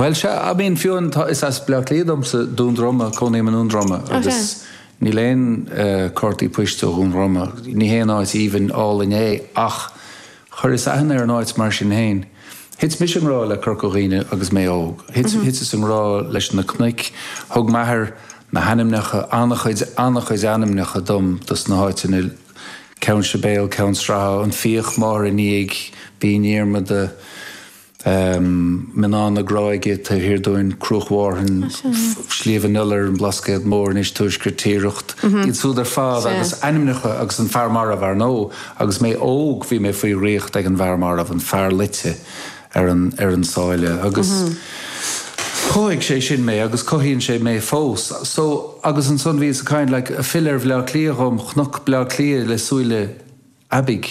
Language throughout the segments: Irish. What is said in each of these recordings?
Bhuel, sea, I mean, fiú an, tá, is as Bleá Cliath domsa, Dún Droma, cónaím i nDún Droma agus níl aon cártaí poist ó Dhún Droma, ní haon áit aoibhinn álainn é ach chuireas aithne ar an áit mar sin féin. Thit mise i ngrá le Corca Dhuibhne agus mé óg. Thit, thiteas i ngrá leis na cnoic, thug m'athair na hainmneacha, an-chuid, an-chuid ainmneacha dom dos na háiteanna, Ceann Sibéal, Ceann Sratha, An Fiach, Máthair i ndiaidh, Binn Dhiarmada, Mionnán na Gráige taobh thiar dúinn, Cruach Mhárthain, Sliabh an Iolair, an Blascaod Mór anois, Tuaisceart Tiaracht, iad súd ar fad agus ainmneacha agus an Fear Marbh ar ndóigh. Agus mé óg bhí mé faoi dhraíocht ag an bhFear Marbh, an fear loite ar an ar an sáile agus chothaigh sé sin mé agus cothaíonn sé mé fós. So agus ansan bhíos ag caint like filleadh ar Bhleá Cliath dhom, chonac Bleá Cliath le súile aibidh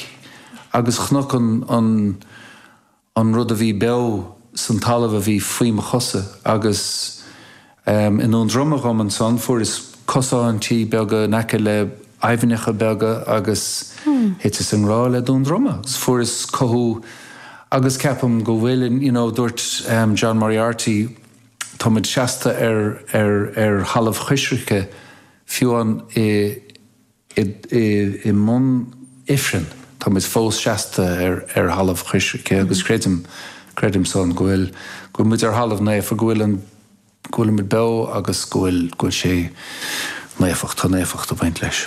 agus chonac an an an rud a bhí beo san talamh a bhí faoi mo chosa agus i nDún Droma dhom ansan fuaireas cosáintí beaga in aice le aibhneacha beaga agus thiteas i ngrá le Dún Droma agus fuaireas cothú agus ceapaim go bhfuil you know dúirt John Moriarty táimid seasta ar ar ar thalamh choisricthe fiú amháin i I mbun Ifrinn, tá muid fós seasta ar thalamh choisricthe agus creidim, creidim san, go bhfuil, go bhfuil muid ar thalamh naofa, go bhfuil an, go bhfuilimid beo agus go bhfuil, go bhfuil sé naofacht, tá naofacht ag baint leis.